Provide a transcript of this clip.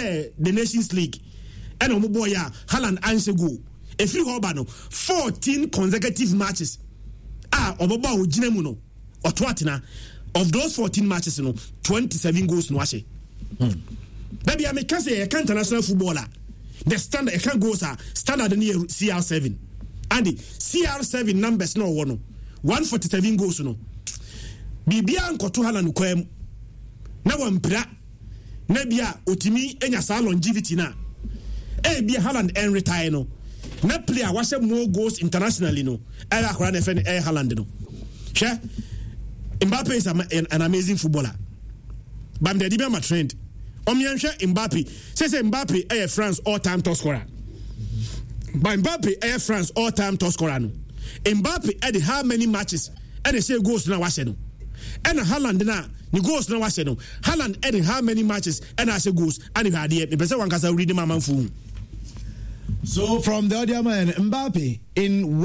Ɛyɛ the Nations League ɛna wɔn bɔɔ yɛ a Haaland anhyɛ goal. Efiri hɔ ba no, 14 consecutive matches a ɔbɛbɔ a ɔgyina mu no, ɔto atena. Of those 14 matches no, 27 goals no ahyɛ. Dabi a meka sɛ yɛka international football a, the standard yɛka goals a standard no yɛ CR7. And CR7 numbers na ɔwɔ no, 147 goals no, biribiara nkɔto Haaland kwan mu na wampira na bi a otumi nya saa longevity no a, ebia Haaland ɛnretae no na player a wahyɛ more goals internationally no ɛyɛ akora na ɛfɛ no ɛyɛ Haaland no. Hwɛ, Mbappe is an amazing footballer, but mede adi bi ama trend. Ɔmeɛnhwɛ Mbappe sɛ sɛ Mbappe ɛyɛ France all time top scorer, but Mbappe ɛyɛ France all time top scorer no, Mbappe ɛde how many matches ɛna ɛhyɛ goals na wahyɛ no? Ɛna Haaland na ne goals na wahyɛ no, Haaland ɛde how many matches ɛna ahyɛ goals? Ɛna hwɛ adeɛ, mepɛ sɛ wankasa wuri ne ma amanfo hu. So from the other man, Mbappe in